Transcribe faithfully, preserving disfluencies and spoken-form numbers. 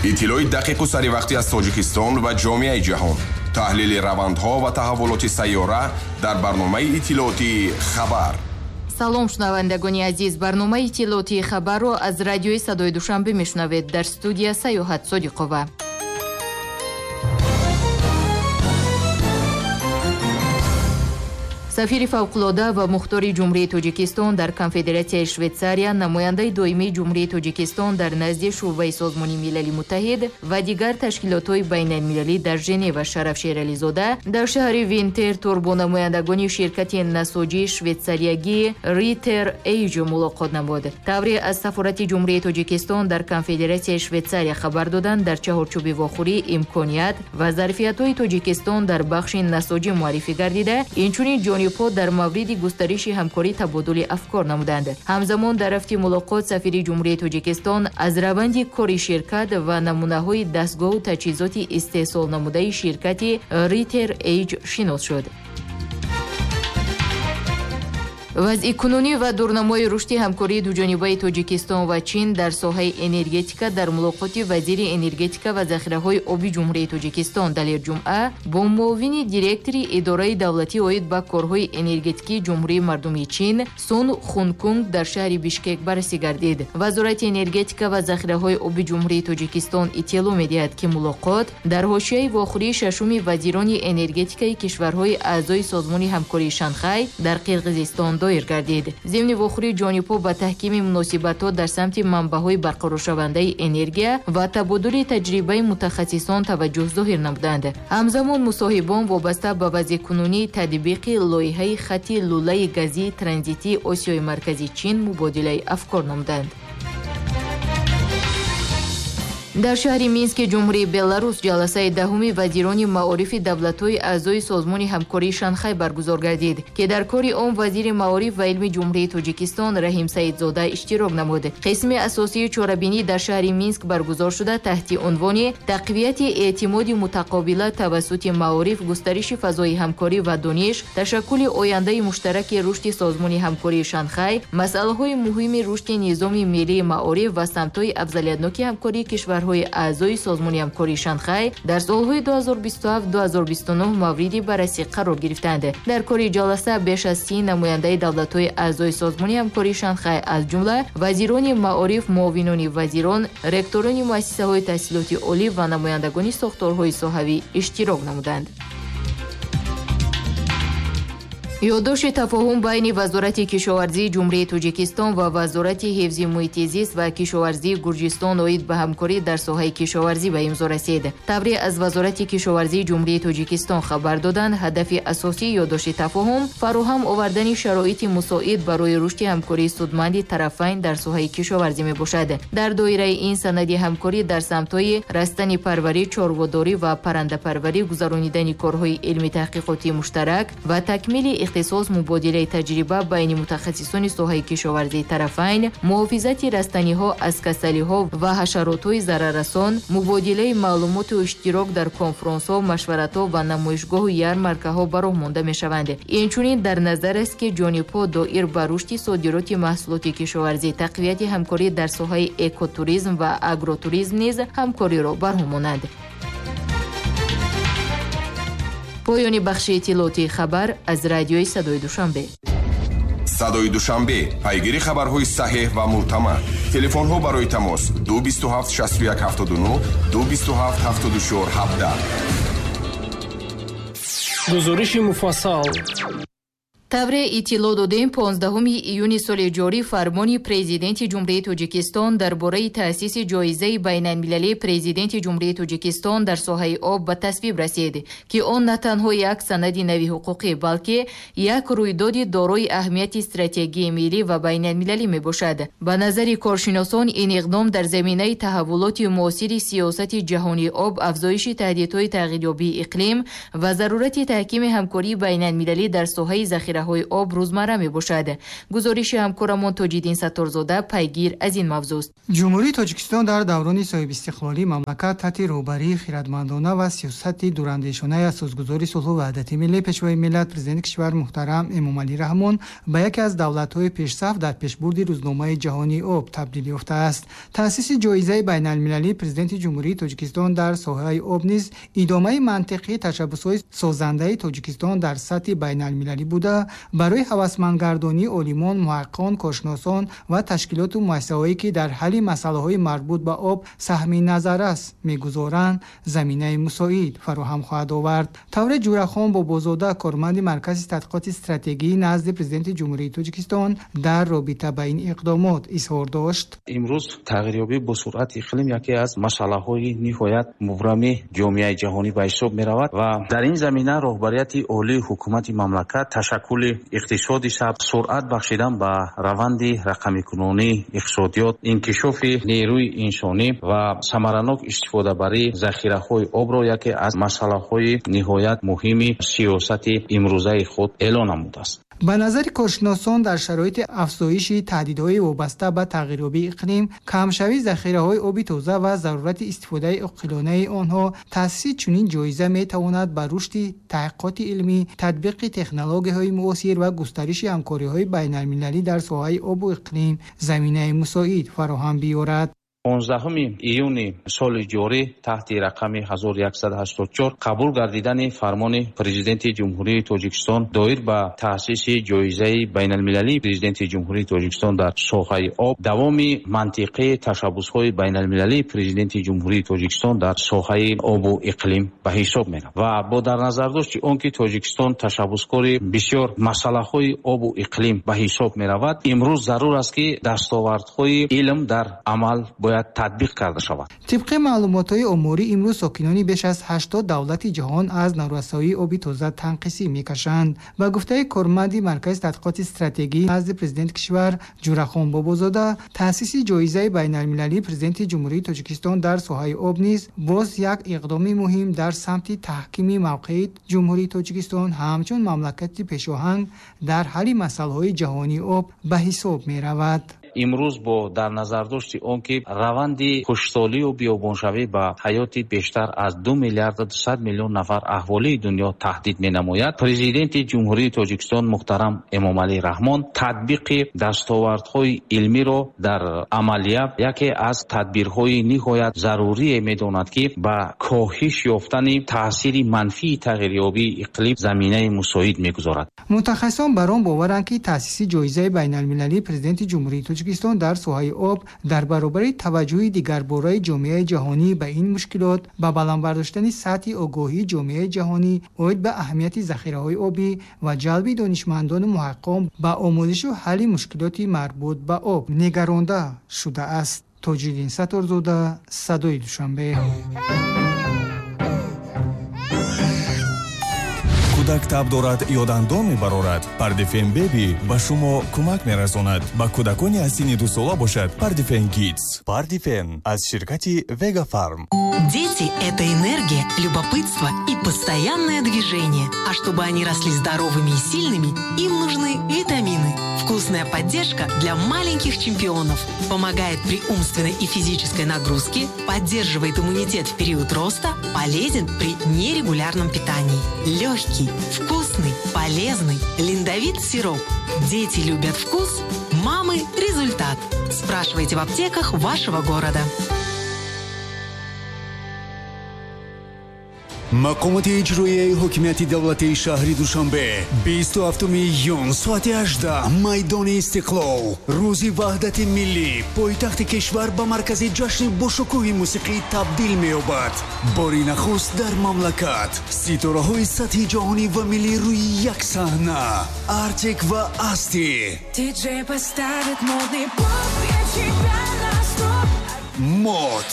Иттилои дақиқу саривақтӣ аз Тоҷикистон ва ҷомеаи ҷаҳон, таҳлили равандҳо ва таҳаввулоти сайёра дар барномаи иттилоотии «Хабар». Салом, шунавандагони азиз. Барномаи иттилоотии «Хабарро» аз радиои Садои Душанбе мешунавед. Дар студия Саёҳат Содиқова. Сафири фавқулода ва мухтори Ҷумҳурии Тоҷикистон дар Конфедератсияи Швейтсария, намояндаи доимии Ҷумҳурии Тоҷикистон дар назди Шӯъбаи Созмони Милали Муттаҳид ва дигар ташкилотҳои байналмилалӣ дар Женева Шараф Шерализода дар шаҳри Винтертур бо намояндагони ширкати насоҷии швейтсариягӣ Ритер Эйҷ мулоқот намуд. Тавре аз сафорати Ҷумҳурии Тоҷикистон дар Конфедератсияи Швейтсария хабар доданд, дар чаҳорчӯби вохӯрӣ имконият ва зарфиятҳои Тоҷикистон дар бахши насоҷӣ муаррифӣ гардида, инчунин ҷонибҳо дар мавриди густариши ҳамкорӣ табодули афкор намуданд. Ҳамзамон дар рафти мулоқот сафири Ҷумҳурии Тоҷикистон аз раванди кори ширкат ва намунаҳои дастгоҳу таҷҳизоти истеҳсол намудаи ширкати Ритер Эйҷ шинос шуд. Вазъи кунунӣ ва дурнамои рушди ҳамкории дуҷонибаи Тоҷикистон ва Чин дар соҳаи энергетика дар мулоқоти вазири энергетика ва захираҳои оби Ҷумҳурии Тоҷикистон Далер Ҷумъа бо муовини директори идораи давлатӣ оид ба корҳои энергетикии Ҷумҳурии Мардумии Чин Сун Хункунг дар шаҳри Бишкек баррасӣ гардид. Вазорати энергетика ва захираҳои оби Ҷумҳурии Тоҷикистон иттилоъ медиҳад, ки мулоқот дар ҳошияи вохӯрии шашуми вазирони энергетикаи кишварҳои аъзои Созмони ҳамкории Шанхай дар Қирғизистон доир гардид. Зимни вохӯрии ҷонибҳо ба таҳкими муносибатҳо дар самти манбаъҳои барқароршавандаи энергия ва табодули таҷрибаи мутахассисон таваҷҷӯҳ зоҳир намуданд. Ҳамзамон мусоҳибон вобаста ба вазъи кунунии татбиқи лоиҳаи хати лӯлаи газии транзитии Осиёи Маркази Чин мубодилаи афкор намуданд. Дар шаҳри Мински Ҷумҳурии Беларус ҷаласаи даҳуми вазирони маорифи давлатҳои аъзои Созмони ҳамкории Шанхай баргузор гардид, ки дар кори он вазири маориф ва илми Ҷумҳурии Тоҷикистон Раҳим Саидзода иштирок намуд. Қисми асосии чорабинӣ дар шаҳри Минск баргузор шуда таҳти унвони тақвияти эътимоди мутақобила тавассути маориф, густариши фазои ҳамкорӣ ва дониш, ташаккули ояндаи муштараки рушди Созмони ҳамкории Шанхай, масъалаҳои муҳими рушди низоми миллии маориф ва самтҳои афзалиятноки ҳамкории кишварҳои аъзои Созмони ҳамкории Шанхай дар солҳои ду ҳазор бисту ҳафт ду ҳазор бисту нӯҳ мавриди баррасӣ қарор гирифтанд. Дар кори ҷаласа беш аз си намояндаи давлатҳои аъзои Созмони ҳамкории Шанхай, аз ҷумла вазирони маориф, муовинони вазирон, ректорони муассисаҳои таҳсилоти олӣ ва намояндагони сохторҳои соҳавӣ иштирок намуданд. Ёддошти тафоҳум байни Вазорати кишоварзии Ҷумҳурии Тоҷикистон ва Вазорати ҳифзи муҳити зист ва кишоварзии Гурҷистон оид ба ҳамкорӣ дар соҳаи кишоварзӣ ба имзо расид. Тавре аз Вазорати кишоварзии Ҷумҳурии Тоҷикистон хабар доданд, ҳадафи асосии ёддошти тафоҳум фароҳам овардани шароити мусоид барои рушди ҳамкории судманди тарафайн дар соҳаи кишоварзӣ мебошад. Дар доираи ин санади ҳамкорӣ дар самтҳои растанипарварӣ, чорводорӣ ва паррандапарварӣ, гузаронидани корҳои илми таҳқиқотии муштарак ва такмили ихтисос, мубодилаи таҷриба байни мутахассисони соҳаи кишоварзии тарафайн, муҳофизати растаниҳо аз касалиҳо ва ҳашаротҳои зараррасон, мубодилаи маълумоту иштирок дар конфронсҳо, машваратҳо ва намоишгоҳу ярмаркаҳо ба роҳ монда мешаванд. Инчунин дар назар аст, ки ҷонибҳо доир ба рушди содироти маҳсулоти кишоварзӣ, тақвияти ҳамкорӣ дар соҳаи экотуризм ва агротуризм низ ҳамкориро барҳам монанд. Поёни бахши иттилоотии «Хабар» аз радиои Садои Душанбе. Садои Душанбе, пайгири хабарҳои саҳеҳ ва мӯътамад. Телефонҳо барои тамос ду бисту ҳафт шасту як ҳафтоду нӯҳ, ду бисту ҳафт ҳафтоду чор ҳабдаҳ. Гузориши муфассал. Тавре иттилоъ додем, понздаҳуми июни соли ҷорӣ фармони Президенти Ҷумҳурии Тоҷикистон дар бораи таъсиси ҷоизаи байналмилалии Президенти Ҷумҳурии Тоҷикистон дар соҳаи об ба тасвиб расид, ки он на танҳо як санади нави ҳуқуқӣ, балки як рӯйдоди дорои аҳамияти стратегии миллӣ ва байналмилалӣ мебошад. Ба назари коршиносон, ин иқдом дар заминаи таҳаввулоти муосири сиёсати ҷаҳонии об, афзоиши таҳдидҳои тағйирёбии иқлим ва зарурати таҳкими ҳамкории байналмилалӣ дар соҳаи захира захираҳои об рӯзмарра мебошад. Гузориши ҳамкорамон Тоҷиддин Сатторзода пайгир аз ин мавзӯст. Ҷумҳурии Тоҷикистон дар даврони соҳибистиқлолии мамлакат таҳти роҳбарии хирадмандона ва сиёсати дурандешонаи асосгузори сулҳу ваҳдати миллӣ, Пешвои миллат, Президенти кишвар муҳтарам Эмомалӣ Раҳмон ба яке аз давлатҳои пешсаф дар пешбурди рӯзномаи ҷаҳонии об табдил ёфтааст. Таъсиси ҷоизаи байналмилалии Президенти Ҷумҳурии Тоҷикистон дар соҳаи об низ идомаи мантиқии ташаббусҳои созандаи Тоҷикистон дар сатҳи байналмилалӣ буда, барои ҳавасмандгардонии олимон, муҳаққиқон, коршиносон ва ташкилоту муассисаҳое, ки дар ҳалли масъалаҳои марбут ба об саҳми назаррас мегузоранд, заминаи мусоид фароҳам хоҳад овард. Тавре Ҷурахон Бобозода, корманди Маркази тадқиқоти стратегии назди Президенти Ҷумҳурии Тоҷикистон, дар робита ба ин иқдомот изҳор дошт. Имрӯз тағйирёбӣ бо суръати иқлим яке аз масъалаҳои ниҳоят мубрами ҷомеаи ҷаҳонӣ ба ҳисоб меравад ва дар ин замина роҳбарияти олии ҳукумати мамлакат ташаккули иқтисоди сабз, суръат бахшидан ба раванди рақамикунонии иқтисодиёт, инкишофи нерӯи инсонӣ ва самаранок истифодабарии захираҳои обро яке аз масъалаҳои ниҳоят муҳими сиёсати имрӯзаи худ эълон намудааст. Ба назари коршиносон, дар шароити афзоиши таҳдидҳои вобаста ба тағйирёбии иқлим, камшавии захираҳои оби тоза ва зарурати истифодаи оқилонаи онҳо, таъсиси чунин ҷоиза метавонад ба рушди таҳқиқоти илмӣ, татбиқи технологияҳои муосир ва густариши ҳамкориҳои байналмилалӣ дар соҳаи обу иқлим заминаи мусоид фароҳам биёрад. понздаҳуми июни соли ҷорӣ таҳти рақами ҳазору яксаду ҳаштоду чор қабул гардидани фармони Президенти Ҷумҳурии Тоҷикистон доир ба таъсиси ҷоизаи байналмилалии Президенти Ҷумҳурии Тоҷикистон дар соҳаи об давоми мантиқии ташаббусҳои байналмилалии Президенти Ҷумҳурии Тоҷикистон дар соҳаи обу иқлим ба ҳисоб меравад ва бо дар назардошти он ки Тоҷикистон ташаббускори бисёр масъалаҳои обу иқлим ба ҳисоб меравад, имрӯз зарур аст ки дастовардҳои илм дар амал бояд татбиқ карда шавад. Тибқи маълумотҳои оморӣ, имрӯз сокинони беш аз ҳаштод давлати ҷаҳон аз норасоии оби тоза танқисӣ мекашанд. Ба гуфтаи корманди Маркази тадқиқоти стратегии назди Президенти кишвар Ҷурахон Бобозода, таъсиси ҷоизаи байналмилалии Президенти Ҷумҳурии Тоҷикистон дар соҳаи об низ боз як иқдоми муҳим дар самти таҳкими мавқеи Ҷумҳурии Тоҷикистон ҳамчун мамлакати пешоҳанг дар ҳалли масъалаҳои ҷаҳонии об ба ҳисоб меравад. Имрӯз бо дар назардошти он ки раванди хушксолию биёбоншавӣ ба ҳаёти бештар аз ду миллиарду дусад миллион нафар аҳолии дунё таҳдид менамояд, Президенти Ҷумҳурии Тоҷикистон муҳтарам Эмомалӣ Раҳмон татбиқи дастовардҳои илмиро дар амалия яке аз тадбирҳои ниҳоят зарурие медонад, ки ба коҳиш ёфтани таъсири манфии тағйирёбии иқлим заминаи мусоид мегузорад. Мутахассисон бар он боваранд, ки таъсиси ҷоизаи байналмилалии Президенти Ҷумҳурии Тоҷикистон дар соҳаи об дар баробари таваҷҷӯҳи дигарбораи ҷомеаи ҷаҳонӣ ба ин мушкилот, ба баланд бардоштани сатҳи огоҳии ҷомеаи ҷаҳонӣ оид ба аҳамияти захираҳои обӣ ва ҷалби донишмандону муҳаққиқон ба омӯзишу ҳалли мушкилоти марбут ба об нигаронда шудааст. Тоҷиддин Сатторзода, Садои Душанбе. Кӯдак таб дорад ё дандон мебарорад, Пардифен Беби ба шумо кӯмак мерасонад. Ба кӯдакони аз синни дусола бошад Пардифен Кидс. Пардифен аз ширкати Вега Фарм. Дети – это энергия, любопытство и постоянное движение. А чтобы они росли здоровыми и сильными, им нужны витамины. Вкусная поддержка для маленьких чемпионов. Помогает при умственной и физической нагрузке, поддерживает иммунитет в период роста, полезен при нерегулярном питании. Легкий, вкусный, полезный Линдовит сироп. Дети любят вкус, мамы – результат. Спрашивайте в аптеках вашего города. Мақомоти иҷроияи ҳокимияти давлатии шаҳри Душанбе бисту ҳафтуми июн соати ҳаждаҳ майдони Истиқлол, рӯзи ваҳдати миллӣ, пойтахти кишвар ба маркази ҷашни бошукӯҳи мусиқӣ табдил меёбад. Бори нахуст дар мамлакат ситораҳои сатҳи ҷаҳонӣ ва миллӣ рӯи як саҳна. Артик ва Асти, Диджей поставит модный поп, я тебя на стоп. Мод,